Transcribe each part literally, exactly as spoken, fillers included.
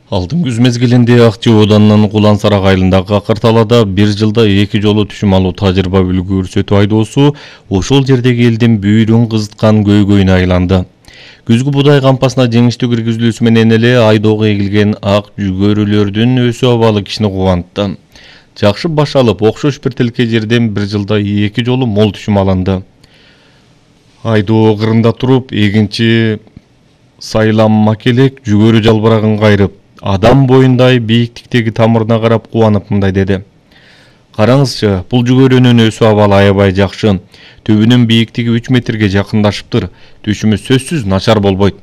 Алдын күз мезгилинде Акчы Оданынын Кулан-Сарак айылындагы акыр талаада бир жылда эки жолу түшүм алуу тажрыйба үлгү көрсөтүү айдоосу ошол жердеги элдин бүйүрүн кызыткан көйгөйүнө айланды. Күзгү будай кампасына жеңиштүү киргизилүүсү менен эле айдоого эгилген ак жүгөрүлөрдүн өсүү абалы кишини кубантты. Жакшы баш алып, окшош бир тилке жерден бир жылда эки жолу мол түшүм алынды. Айдоо кырында туруп, эгинчи Сайрам Макелек жүгөрү жалбырагын кайрып, адам боюндай бийиктиктеги тамырына карап кубанып мындай деди. Караңызчы, бул жүгөрүнүн өсүү абалы аябай жакшы. Түбүнүн бийиктиги үч метрге жакындаштыптыр. Түшүмү сөзсүз начар болбойт.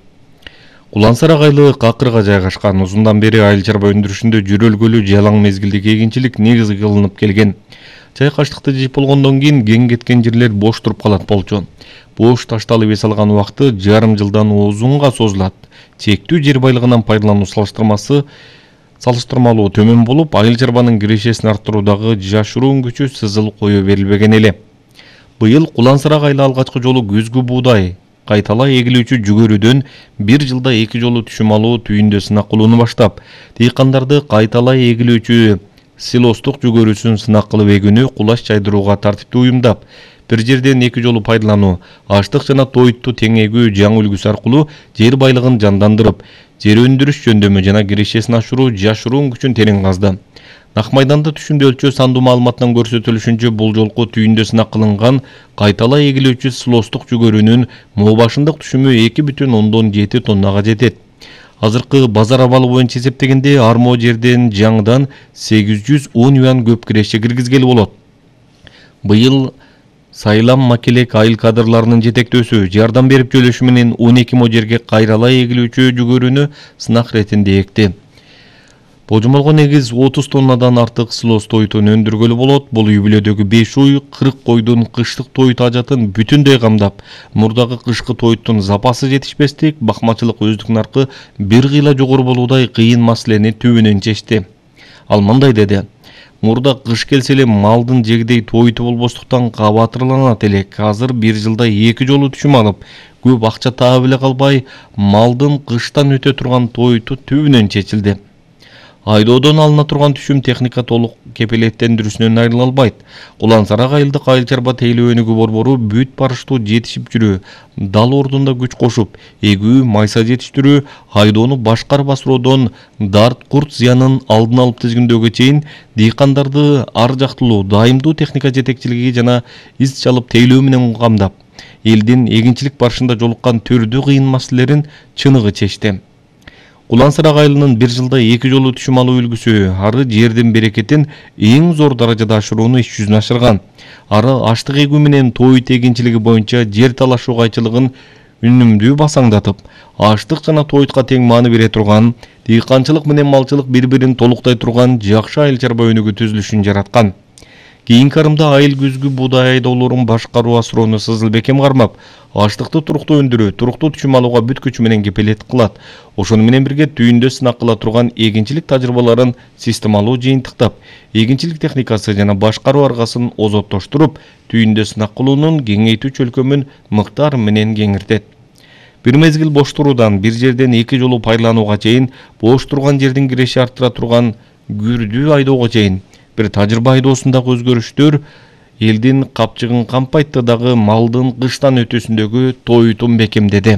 Кулан-Сарак айылы какырга жайгашкан. Узундан бери айыл чарба өндүрүшүндө жүрөлгөлүү жалаң мезгилдик эгинчилик негизи кылынып келген. Чайкаштыкты жыйып болгондон кийин кең кеткен жерлер бош туруп калат болчу. Бош ташталып эс алган убакыты жарым жылдан узунга созулат. Чектүү жер байлыгынан пайдалануу салыштырмасы салыштырмалуу төмөн болуп, айыл чарбанын кирешесин арттыруудагы жашыруун күчү сызыл кое берилбеген эле. Быйыл Кулан-Сарак айылы алгачкы жолу күзгү буудай кайталай эгилүүчү жүгөрүдөн бир жылда эки жолу түшүм алуу түйүндө сынак кылууну баштап, дыйкандарды кайталай эгилүүчү силостук жүгөрүсүн сынак кылып эгүүнү кулаш жайдырууга тартиптүү уюмдап, бир жерден эки жолу пайдалануу, аштык жана тоютту тең эгүү жаңы үлгүсү аркылуу жер байлыгын жандандырып, жер өндүрүш жөндөмү жана кирешесин ашыруу жашыруун күчүн терең казды. Нак майданда түшүмдө өлчөө сандуу маалыматтан көрсөтүлүшүнчө бул жолку түйүндө сынак кылынган кайталай эгилүүчү силостук жүгөрүнүн moo башындык түшүмү эки бүтүн ондон жети тоннага жетет. Азыркы базар абалы боюнча эсептегенде арmoo жерден жаңыдан сегиз жүз он юан көп киреше киргизгели болот. Быйыл Сайрам Макелек айыл кадрларынын жетектөөсү жардам берип жөлөшү менен он эки moo жерге кайралай эгилүүчү жүгөрүнү сынак иретинде экти. Божомолго негиз отуз тоннадан артык силос тойтун өндүргөлү болот. Бул үй бүлөдөгү беш уй, кырк койдун кыштык тоют ажатын бүтүндөй камдап, мурдагы кышкы тоюттун запасы жетишпестик, бакмачылык өздүк наркы бир кыйла жогору болуудай кыйын маселени түбүнөн чечти. Ал мындай деди: мурда кыш келсе эле малдын жегдей тоюту болбостуктан кабатырланат элек. Азыр бир жылда эки жолу түшүм алып, көп акча таап эле калбай, малдын кыштан өтө турган тоюту түбүнөн чечилди. Айдоодон алына турган түшүм техника толук кепилеттендирүүсүнөн айрыла албайт. Кулан-Сарак айылдык айыл чарба тейлөө өнүгүү борбору бүт барыштуу жетишип жүрүү, дал ордунда күч кошуп, эгүү, майса жетиштирүү, айдоону башкарып асыроодон дарт, курт зыянын алдын алып тизгиндөөгө чейин дыйкандарды ар жактылуу, дайымдуу техника жетекчилиги жана из чалып тейлөө менен камдап, элдин эгинчилик барышында жолуккан түрдүү кыйын маселелерин чыныгы чечти. Кулан-Сарак айылынын бир жылда эки жолу түшүм алуу үлгүсү ары жердин берекетин эң зор даражада ашырууну иш жүзүнө ашырган. Ары аштык эгүү менен тоют эгинчилиги боюнча жер талашуу кайчылыгын үнүмдүү басаңдатып, аштык жана тоютка тең мааны бере турган, дыйканчылык менен малчылык бири-бирин толуктай турган жакшы айыл чарба өнүгүү түзүлүшүн жараткан. Кийинки арымда айыл күзгү буудай айдоолорун башкаруу асыроону сызыл бекем кармап, аштыкты туруктуу өндүрүү, туруктуу түшүм алууга бүт күчү менен кепилет кылат. Ошону менен бирге түйүндө сынак кыла турган эгинчилик тажрыйбаларын системалуу жыйынтыктап, эгинчилик техникасы жана башкаруу аргасын озоттоштуруп, түйүндө сынак кылуунун кеңейтүү чөлкөмүн мыктар менен кеңиртет. Бир мезгил бош туруудан бир жерден эки жолу пайдаланууга чейин, бош турган жердин киреше арттыра турган күрдүү айдоого чейин бир тажрыйба айдоосундагы өзгөрүштөр элдин капчыгын кампайтты дагы малдын кыштан өтүүсүндөгү тоютун бекемдеди.